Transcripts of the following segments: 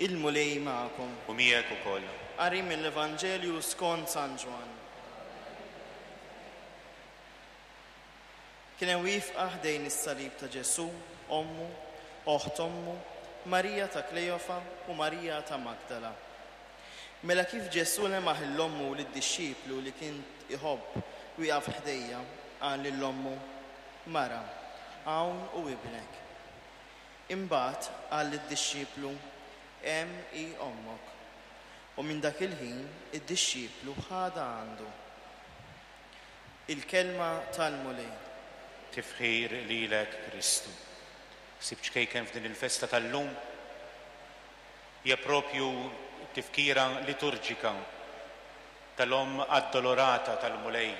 Il-Mulej magħkom. U miegħek ukoll. Qari mill-Evanġelju skont San Ġwann. Kien hemm wieqfa ħdejn is-salib ta' Ġesù, ommu, oħt ommu, Marija ta' Kleofa u Marija ta' Magdala. Mela kif Ġesù lemaħ 'l ommu u lid-dixxiplu li kien iħobb wieqaf ħdejha, qal lil ommu, Mara, hawn hu ibnek. Imbagħad qal lid-dixxiplu, Hemm hi ommok. U minn dak il-ħin id-dixxiplu ħadha għandu. Il-Kelma tal-Mulej. Tifħir lilek, Kristu. Ħsieb ċkejken f'din il-festa tal-lum hija propju t-tifkira liturġika tal-Omm Addolorata tal-Mulej.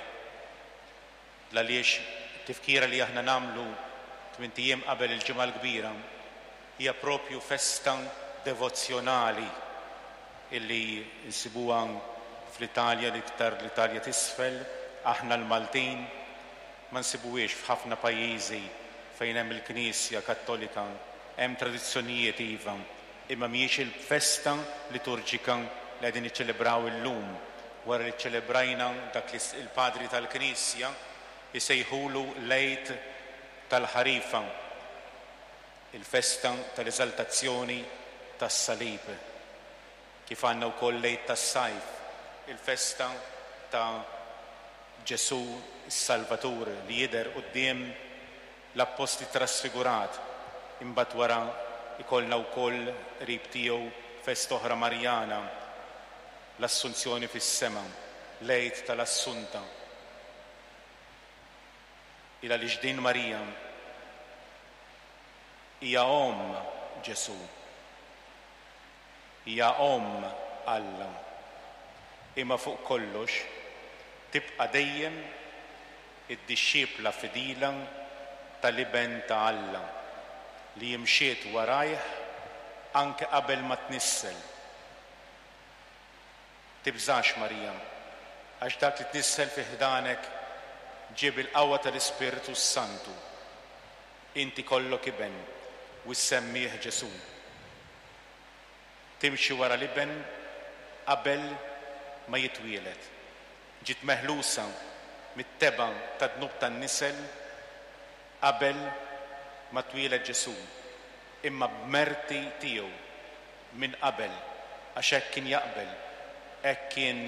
L-għaliex it-tifkira li aħna nagħmlu tmint ijiem qabel il-Ġimgħa l-Kbira hija propju festa devozzjonali illi nsibuha fl-Italja, l-iktar l-Italja t'isfel, aħna l-Maltin ma nsibuhiex f'ħafna pajjiżi fejn hemm il-Knisja Kattolika. Hemm tradizzjonijiet iva, imma mhijiex il-festa liturġika li qegħdin niċċelebraw illum, wara li ċċelebrajna dak li l-Padri tal-Knisja jsejħulu l-Għid tal-Ħarifa, il-festa tal-Eżaltazzjoni tas-Salib, kif għandna wkoll l-Għid tas-Sajf, il-festa ta' Ġesù s-Salvatur li jidher quddiem l-Appostli trasfigurat, imbagħad wara jkollna wkoll qrib tiegħu festa oħra Marjana, l-Assunzjoni fis-Sema, l-Għid tal-Assunta. Il għaliex din Marija hija omm Ġesù, hija omm Alla, imma fuq kollox tibqa' dejjem id-dixxipla fidila tal-Iben ta' Alla li imxiet warajh anke qabel ma tnissel. Tibżax, Marija, għax dak li tnissel fi ħdanek ġie bil-qawwa tal-Ispirtu s-Santu. Int ikollok iben u ssemmih Ġesù. Timxi wara l-iben qabel ma jitwieled. Ġiet meħlusa mit-tebgħa tad-dnub tan-nisel qabel ma twieled Ġesù, imma b'merti tiegħu minn qabel, għax hekk kien jaqbel, hekk kien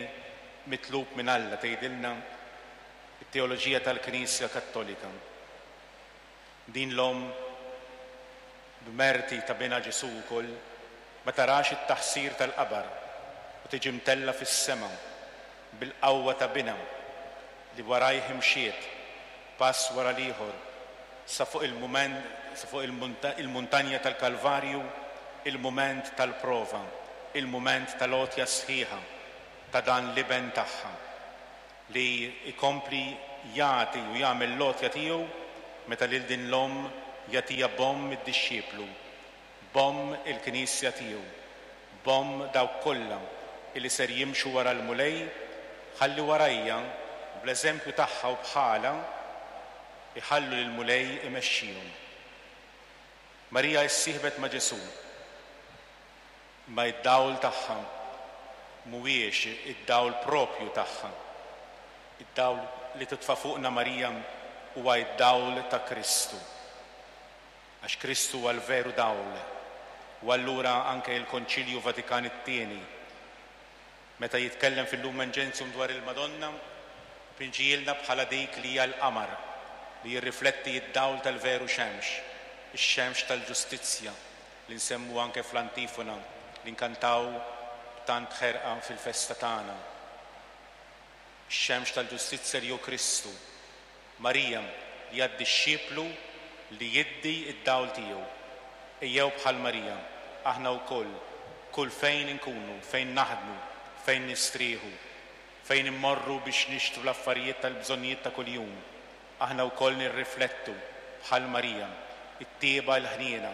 mitlub minn Alla, tgħidilna t-teoloġija tal-Knisja Kattolika. Din l-omm, b'merti ta' Binha Ġesù wkoll, ma tarax it-taħsir tal-qabar u tiġi mtellgħa fis-sema bil-qawwa ta' Binha li warajh imxiet, pass wara l-ieħor, sa fuq il-mument, sa fuq il-muntanja tal-Kalvarju, il-mument tal-prova, il-mument tal-għotja sħiħa ta' dan l-Iben tagħha. li jkompli jagħti u jagħmel l-għotja tiegħu meta lil din l-omm jagħtiha b'omm id-dixxiplu, b'omm il-Knisja tiegħu, b'omm dawk kollha illi ser jimxu wara l-Mulej ħalli warajja, bl-eżempju tagħha u bħalha, iħallu lill-Mulej imexxihom. Marija issieħbet ma' Ġesù. Imma id-dawl tagħha mhuwiex id-dawl proprju tagħha. Id-dawl li titfa' fuqna Marija huwa id-dawl ta' Kristu. Għax Kristu huwa l-veru dawl. U allura anke il-Konċilju Vatikan it-Tieni, meta jitkellem fil-Lumen Gentium dwar il-Madonna, pinġihielna bħala dik li hija l-qamar li jirrifletti d-dawl tal-veru xemx, ix-xemx tal-ġustizzja, li nsemmu anke fl-antifona li nkantaw b'tant ħerqa fil-festa tagħna. Ix-xemx tal-ġustizzja li hu Kristu. Marija li hija d-dixxiplu li jiddi d-dawl tiegħu. Ejjew bħal Marija, aħna wkoll, kull fejn inkunu, fejn naħdmu, fejn nistrieħu, fejn immorru biex nixtru l-affarijiet tal-bżonnijiet ta' kuljum, Aħna wkoll nirriflettu, bħal Marija, it-tjieba, il-ħniena,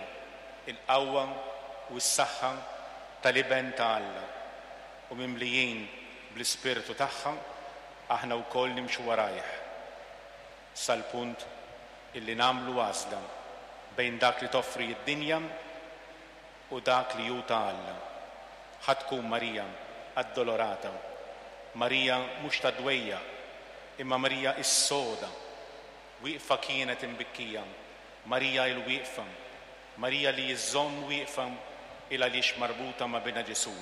il-qawwa u s-saħħa tal-Iben ta' Alla, u mimlijin bl-Ispirtu tagħha, aħna wkoll nimxu warajh, sal-punt illi nagħmlu għażla bejn dak li toffri d-dinja u dak li hu ta' Alla. Ħa tkun Marija Addolorata, Marija mhux tad-dwejjaq, imma Marija s-soda. Wieqfa kienet imbikkija, Marija il-wieqfa, Marija li iżżomm wieqfa il għaliex marbuta ma' Binha Ġesù.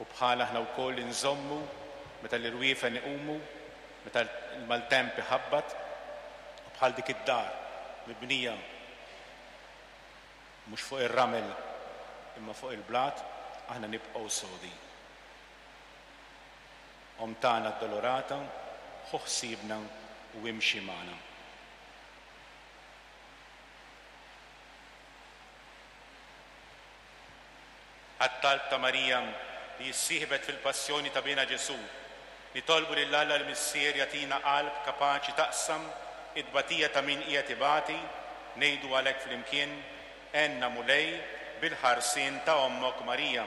U bħalha aħna wkoll inżommu meta l-irwiefen iqumu, meta l-maltemp iħabbat, u bħal dik id-dar mibnija mhux fuq ir-ramel imma fuq il-blat, aħna nibqgħu sodi. Omm tagħna Addolorata, ħu ħsiebna u imxi magħna. Għat-talb ta' Marija li issieħbet fil-passjoni ta' Binha Ġesù, nitolbu lil Alla l-Missier jagħtina qalb kapaċi taqsam it-tbatija ta' min qiegħed ibati, ngħidu għalhekk flimkien, Għenna Mulej bil-ħarsien ta' Ommok Marija.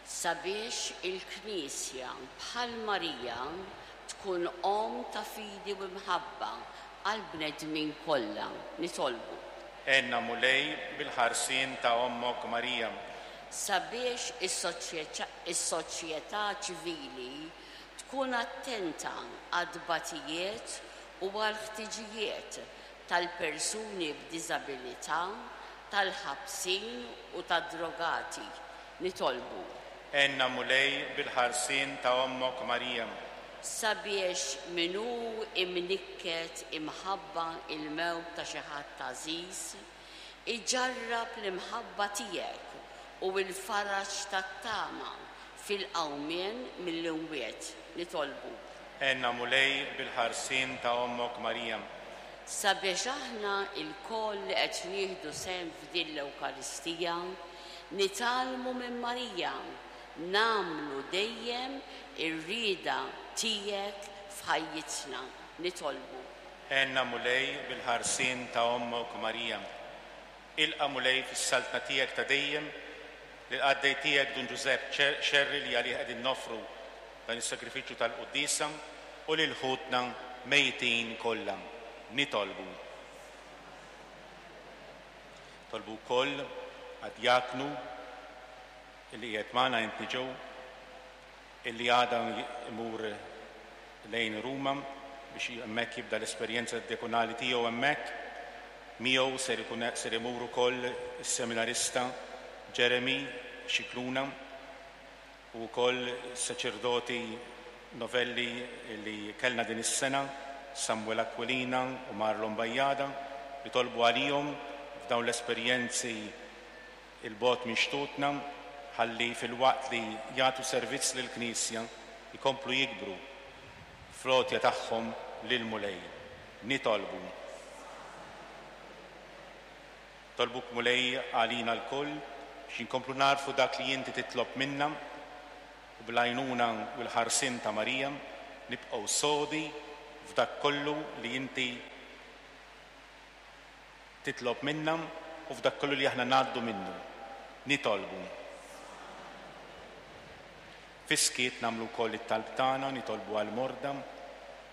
Sabiex il-Knisja bħal Marija tkun omm ta' fidi u mħabba għall-bnedmin kollha, nitolbu. Għenna Mulej bil-ħarsien ta' Ommok Marija. Sabiex is-soċjetà ċivili tkun attenta għat-tbatijiet u għall-ħtiġijiet tal-persuni b'diżabilità, tal-ħabsin u tad-drogati, nitolbu. Għenna Mulej bil-ħarsien ta' Ommok Marija. Sabiex min hu imnikket imħabba l-mewt ta' xi ħadd għażiż, iġarrab l-imħabba tiegħek u l-faraġ tat-tama fil-qawmien mill-imwiet, nitolbu. Għenna Mulej bil-ħarsien ta' Ommok Marija. Sabiex aħna lkoll li qed nieħdu sehem f'din l-Ewkaristija, nitgħallmu minn Marija nagħmlu dejjem ir-rieda tiegħek f'ħajjitna, nitolbu. Għenna Mulej bil-ħarsien ta' Ommok Marija. Ilqa' Mulej fis-Saltna tiegħek ta' dejjem lill-qaddej tiegħek Dun Ġużepp Xerri li għalih qegħdin noffru dan is-sagrifiċċju tal-quddiesa u lil ħutna mejtin kollha. Nitolbu. Nitolbu wkoll għad-djaknu li qiegħed magħna Anthony Joe illi għada imur lejn Ruma biex hemmhekk jibda l-esperjenza djakonali tiegħu hemmhekk. Miegħu ser ikun ser imur ukoll is-seminarista Jeremy Scicluna u wkoll is-saċerdoti novelli li kellna din is-sena, Samuel Aquilina u Marlon Bajada, nitolbu għalihom f'dawn l-esperjenzi 'il bogħod minn xtutna ħalli filwaqt li jagħtu servizz lill-Knisja jkomplu jikbru fl-għotja tagħhom lill-Mulej. Nitolbu. Nitolbuk Mulej għalina lkoll biex inkomplu nagħrfu dak li inti titlob minna u bl-għajnuna u l-ħarsien ta' Marija nibqgħu sodi f'dak kollu li inti titlob minna u f'dak kollu li aħna ngħaddu minnu. Nitolbu. Fis-skiet nagħmlu wkoll it-talb tagħna, nitolbu għall-morda,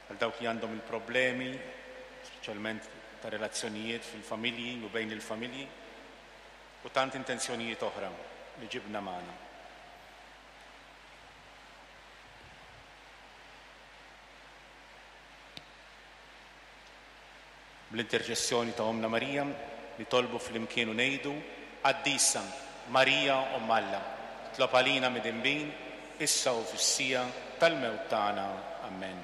għal dawk li għandhom il-problemi, speċjalment ta' relazzjonijiet fil-familji u bejn il-familji, u tant intenzjonijiet oħra li ġibna magħna. Bl-interċessjoni ta' Ommna Marija, nitolbu flimkien u ngħidu, Qaddisa Marija Omm Alla, itlob għalina midinbin, issa u fis-siegħa tal-mewt tagħna. Ammen.